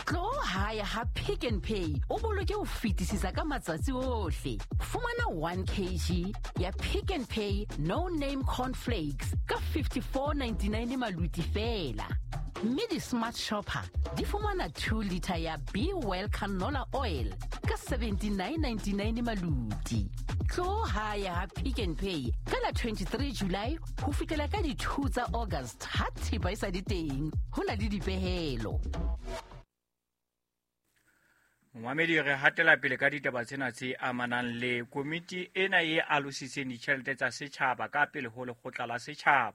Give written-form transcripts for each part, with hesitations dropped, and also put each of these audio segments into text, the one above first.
Tlo hae ha Pick n Pay o boloke ho fetisisa ka matsatsi ohle. Fumana 1 kg ya Pick n Pay No Name Cornflakes ka 54.99 maluti feela. Mme di-smart shopper di fumana 2 litre ya Be Well canola oil ka 79.99 maluti. Tlo hae ha Pick n Pay ka la 23 July ho fihlela ka di-2 tsa August ha thepa e sa le teng. Ho na le dipehelo. Momamedi, re hatela pele ka ditaba tsena tse amanang le komiti ena e alositseng ditjhelete tsa setjhaba ka pele ho lekgotla la setjhaba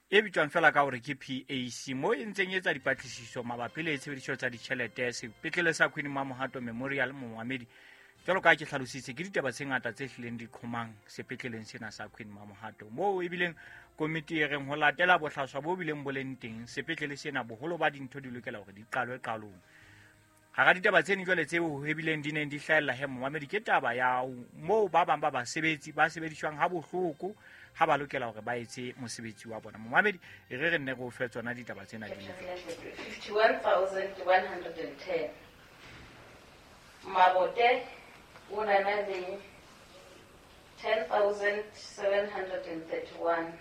e bitswang fela ka hore ke PAC, mo e ntseng e etsa dipatlisiso mabapi le tshebediso tsa ditjhelete sepetlele sa Queen Mamohato Memorial. Momamedi, jwalo ka ke hlalositse, ke ditaba tse ngata tse hlileng di qhomang sepetleleng sena sa Queen Mamohato, moo ebileng komiti e reng ho latela bohlaswa bo bileng bo leng teng sepetlele sena, boholo ba dintho di lokela hore di qalwe qalong. Hara ditaba tseno jwale tseo ebileng di neng di hlahella he momamedi, ke taba ya moo ba bang ba basebetsi ba sebediswang ha bohloko ha ba lokela hore ba etse mosebetsi wa bona. Momamedi, e re re nne re o fe tsona ditaba tsena di le jwalo. 51,110. Mabote o na na le 10,731.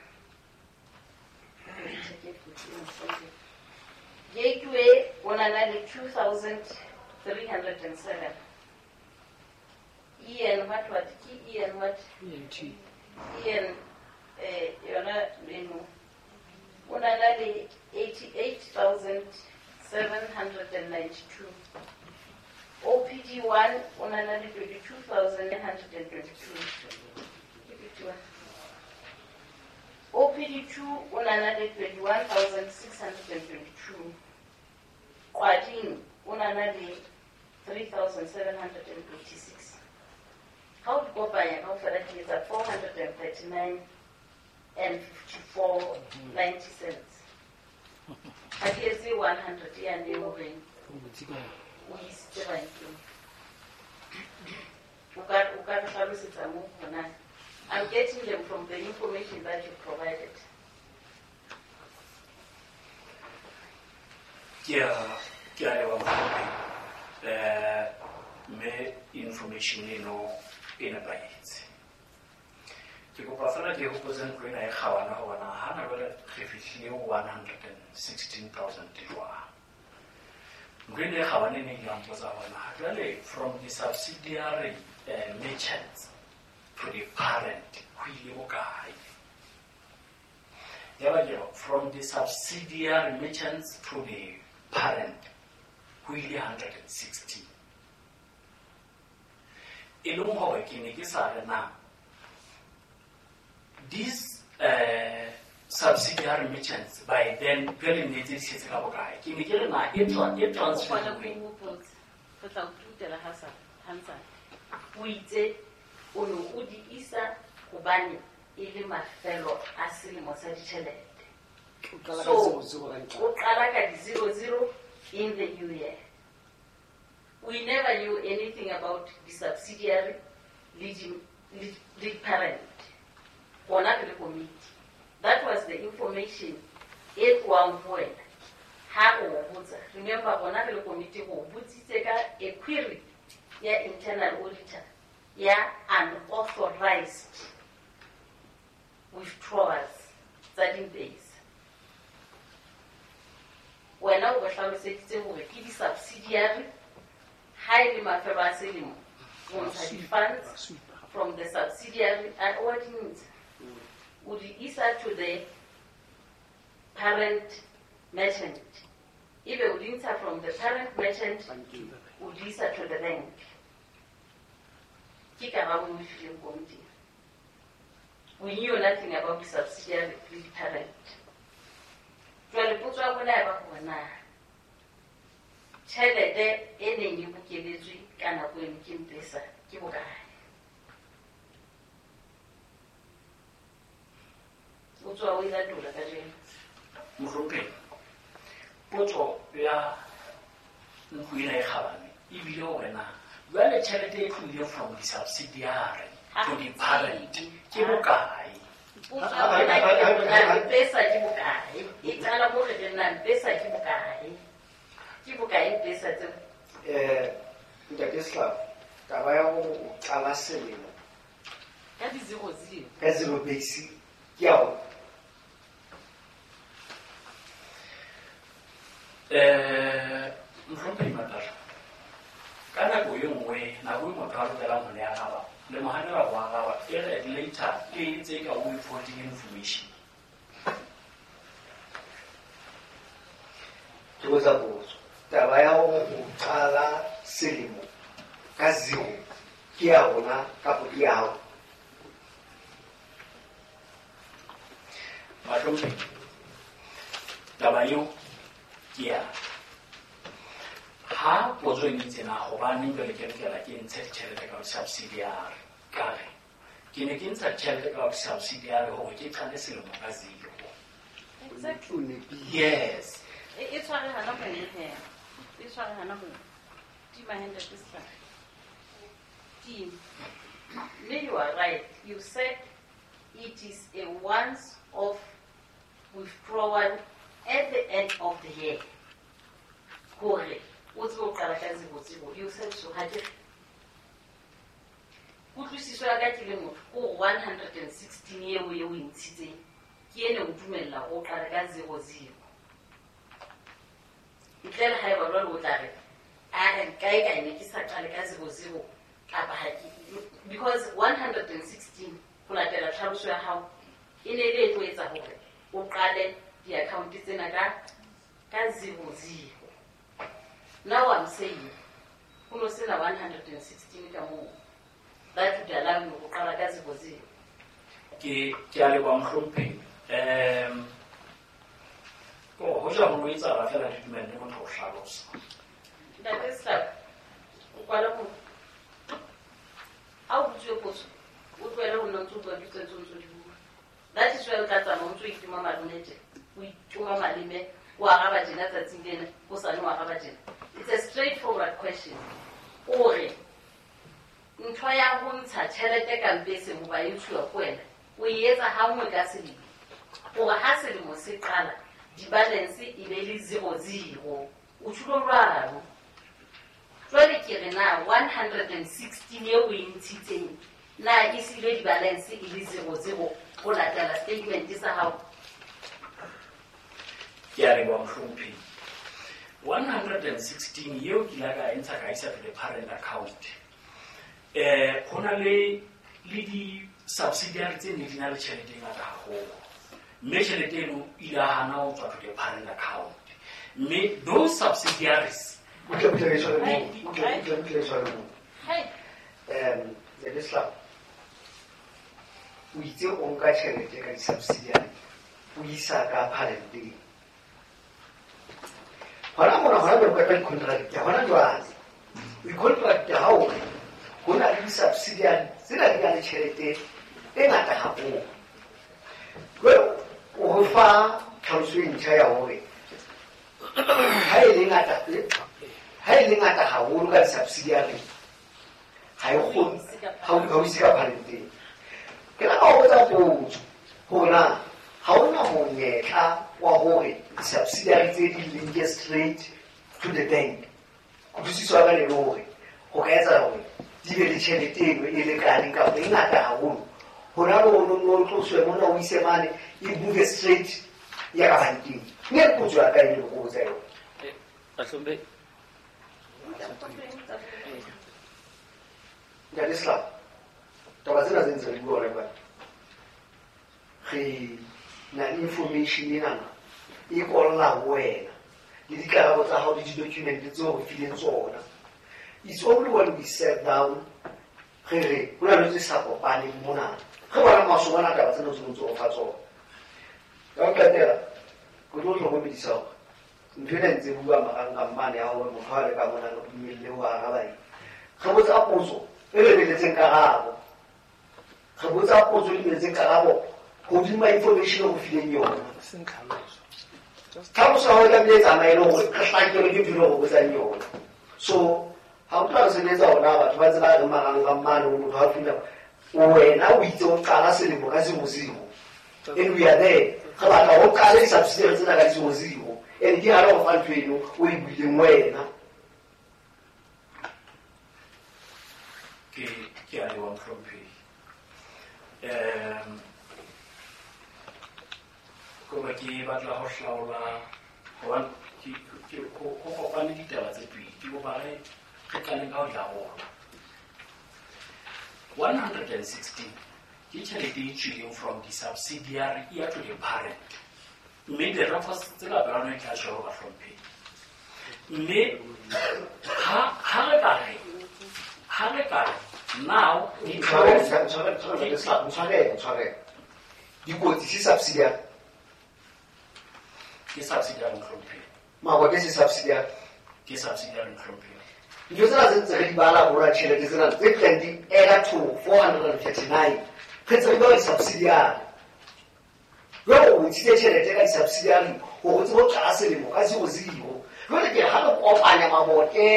Gateway o na na le 2,307. Ian what what ke Ian what? ENT. Ian yona eno o na na le 88,792. OPD 1 o na na le 22,922. Ke 51. OPD 2 o na na le 21,622. Kwading o na na le 3,786. Ha o di kopanya kaofela di etsa 439 and 54.90 cents. Ha di etse 100 yane e horeng o isitse bankeng. O ka re hlalosetsa moo hore na. I'm getting them from the information that you provided. Ke a leboha mohlomphehi. Mme information eno e nepahetse. Ke kopa fela ke hopotse ntlo ena e kgabane hore na hana jwale re fihlile 116,000 jwang. Ntlo ena e kgabane e neng ya mpotsa hore na jwale from the subsidiary merchants to the parent ho ile bokae. Yaba ke re, from the subsidiary merchants to the parent ho ile 160. E leng hore ke ne ke sa re na these subsidiary merchants by then jwale ne tse di setse ka bokae. Ke ne ke re na e transfer. O kgone ho hopotsa. Re tla o tutela ha sa Hansard. O itse o ne o di isa hobane e le mafelo a selemo sa ditjhelete. O qala ka So, zero zero ka ntlha. o qala ka di zero zero in the new year. We never knew anything about the subsidiary lead parent. Rona re le committee. That was the information e tlohang ho wena. Ha re o botsa, remember rona re le committee re o botsitse ka a query ya internal auditor ya unauthorized withdrawals tsa di-base. Wena o re hlaloseditse hore ke di-subsidiary ha e le mafelo a selemo, o ntsha di-funds from the subsidiary and o di ntsha. O di isa to the parent merchant. Ebe o di ntsha from the parent merchant, o di isa to the bank. Ke karabo e o e fileng komiting. We knew nothing about the subsidiary le parent. Jwale potso ya rona ya ba hore na tjhelete e neng e bokeletswe ka nako eno ke Mpesa ke bokae? O tswa o e latola kajeno. Mohlomphehi, potso ya ntlo ena e kgabane ebile hore na jwale tjhelete e tlohile from the subsidiary to the parent ke bokae? Potso ya rona ke hore na Mpesa ke bokae? E qala mo re reng na Mpesa ke bokae? Ke bokae? bokae pesa tseo? Ntate Sehlabo, taba ya hore o qala selemo ka di-zero zero. Ka zero base ke ya hore Mohlomphehi Matata, ka nako e nngwe, nako e motho a lokelang ho le araba, le mo hanela ho araba, e re later ke ntse ka o withholding information. Ke botsa potso. Taba ya hore o qala selemo ka zero ke ya rona kapa ke ya hao? Bahlomphehi, taba eo ke ya ha potso e ntse na hobaneng jwale ke lokela ke ntshe ditjhelete ka subsidiary, ka re ke ne ke ntsha tjhelete ka subsidiary hore ke qale selemo ka zero. Exactly. Yes. E tshware hana mono he. E tshware hana mono. Tima Ntate Sehlabo. Tima. Mme you are right. You said it is a once-off withdrawal at the end of the year. Hore o tsebe ho qala ka zero zero. You said so, ha ke re? Kutlwisiso ya ka ke le motho, ke hore 116 eo e o e ntshitseng, ke ene o dumella hore o qale ka zero zero. Ntle le haeba jwale o tla re, a kae kae ne ke sa qale ka zero zero, kapa ha ke, because 116 ho latela tlhaloso ya hao, e ne e le e tlo etsa hore o qale di-account tsena ka zero zero. Now I'm saying, ho no sena 116 ka moo. That would allow you ho qala ka zero zero. Ke a leboha mohlomphehi. Ho ja ho etsahala feela re dumelle motho ho hlalosa. Ntate Sehlabo, o kwala ho ha o botsuwe potso, o tlohele ho nna o ntso bua ditso tse o ntso di bua. That is why o tla tsamaya o ntso itima malome tjena, o itima maleme, o araba tjena tsatsing lena, hosane o araba tjena. It's a straightforward question. O re ntho ya ho ntsha tjhelete ka mpeseng hoba e ntshuwa ke wena, o e etsa ha nngwe ka selemo. Hore ha selemo se qala, di-balance e be le zero zero. O tjhulo jwalo. Jwale ke re na 116 eo o e ntshitseng, na e siile di-balance e le zero zero ho latela statement sa hao? Ke a leboha mohlomphehi. 116 eo ke ile ka e ntsha ka isa to the parent account. Ho na le di-subsidiary tse ne di na le tjhelete e ngata haholo. Mme tjhelete eno e ile ya hana ho tswa to the parent account. Mme those subsidiaries Butle butle re tshware moo. Butle butle butle re tshware moo. Ntate Sehlabo, o itse o nka tjhelete ka di-subsidiary, o isa ka parenteng. Hona mona hona jwale o qeta di-contract hona jwale. O i-contract ha o re ho na le di-subsidiary tsena di na le tjhelete e ngata haholo. Jwale o re fa tlhaloso e ntjha ya hore ha e le ngata, ha e le ngata haholo ka di-subsidiary, ha e kgone, ha o ise ka parenteng. Ke la ka o botsa potso hore na ha hona monyetla wa hore di-subsidiary tse di linke straight to the bank. Kutlwisiso ya ka le hore ho ka etsahala hore di be le tjhelete eno e lekaneng kapa e ngata haholo. Hona le hore o tloswe mona o ise mane, e move straight ya ka bankeng. Mme potso ya ka e le ho botsa yona. Bahlomphehi. Ntate Sehlabo, taba tsena tse ntse re bua hona jwale, re na le information enana e kolla ho wena le dikarabo tsa hao le di-document tseo re fileng tsona. It's only when we sat down re re ho na le tse sa kopaneng mona, re bona masoba ana taba tsena tse ntse o fa tsona. Ka ho qetela, ke tlo hlokomedisa hore ntho ena ntse bua marangrang mane ya hore motho ha le ka mona re dumelle ho araba eng. Re botsa potso e lebeletseng karabo. Re botsa potso e lebeletseng karabo hodima information o fileng yona. Tlhaloso ya hao e tlamehile e tsamaye le hore re hlakelwe ke ntho e re botsang yona. So ha o tla re sebetsa hona batho ba ntse ba re marangrang mane ho motho ha fihla, wena o itse o qala selemo ka zero zero. And we are there. Re batla ho qale di-subsidiary tsena ka zero zero. And ke hare ho fa ntho eno o e buileng wena. Ke a leboha mohlomphehi. Koba ke batla ho hlaola hobane ho kopane ditaba tse pedi. Ke kopa re qaleng ka ho di arola. 116 ke tjhelete e tswileng from the subsidiary e ya to the parent. Mme di-records tse ka pela rona di tla tjho bahlomphehi. Mme ha re ka re now Tshwarele. Dikotsi se subsidiary. Ke subsidiary mohlomphehi. Mabote se subsidiary. Ke subsidiary mohlomphehi. Ntho tsena tse ntse re di bala borwa tjhelete tsena tse tlang di add to 439. Re ntse re bala di-subsidiary. Jwale o ntshitse tjhelete ka di-subsidiary hore o tsebe ho qala selemo ka 00. Jwale ke ha re kopanya mabote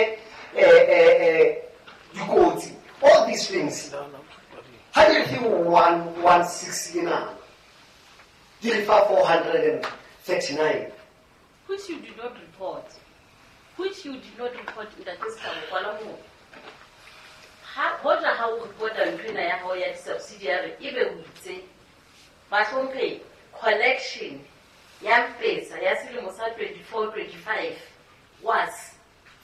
dikotsi, all these things. Ha di re fe 116 ena, di re fa 439. Which you did not report. Which you did not report Ntate Sehlabo kwala moo. Ha hoja ha o reporta ntho ena ya hao ya di-subsidiary ebe o itse bahlomphehi collection ya Mpetsa ya selemo sa 24-25 was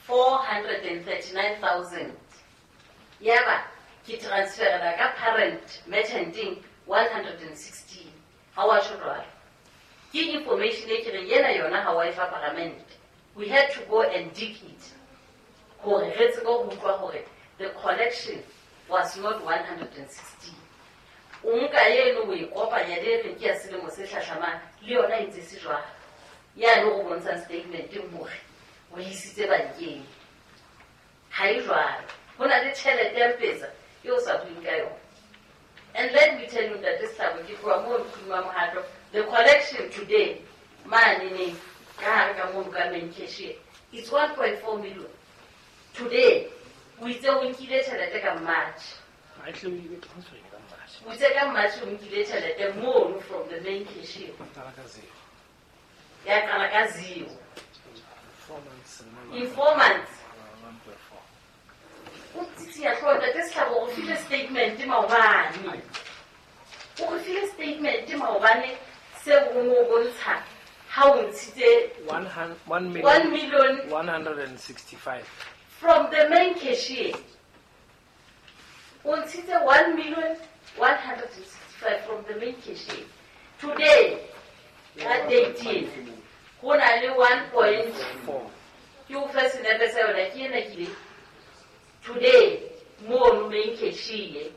439,000. Yaba ke transferela ka parent merchanting 116. Ha wa tjho jwalo. Ke information e ke reng ena yona ha wa e fa parliament. We had to go and dig it. Hore re tsebe ho utlwa hore the collection was not 116. O nka eno o e kopanya le e reng ke ya selemo se hlahlamang le yona e ntse se jwalo. Yane o bontshang statement hore o isitse bankeng. Ha e jwalo. Ho na le tjhelete ya Mpetsa eo o sa bueng ka yona. And let me tell you Ntate Sehlabo, ke tloha moo Mkhuluma Mohato, the collection today mane neng ka hare ka mono ka main cashier it's 1.4 million. Today o itse o nkile tjhelete ka March. O itse ka March o nkile tjhelete mono from the main cashier. Ya qala ka zero. In 4 months. O tsitsiya hlooho Ntate Sehlabo, o file statement maobane. O re file statement maobane seo o no bontsha ha o ntshitse 1 million 165 from the main cashier. O ntshitse 1,165,000 from the main cashier. Today, ka date ena, ho na le 1.4. Ke o fe senepe sa yona ke ena ke ile. Today, mono main cashier.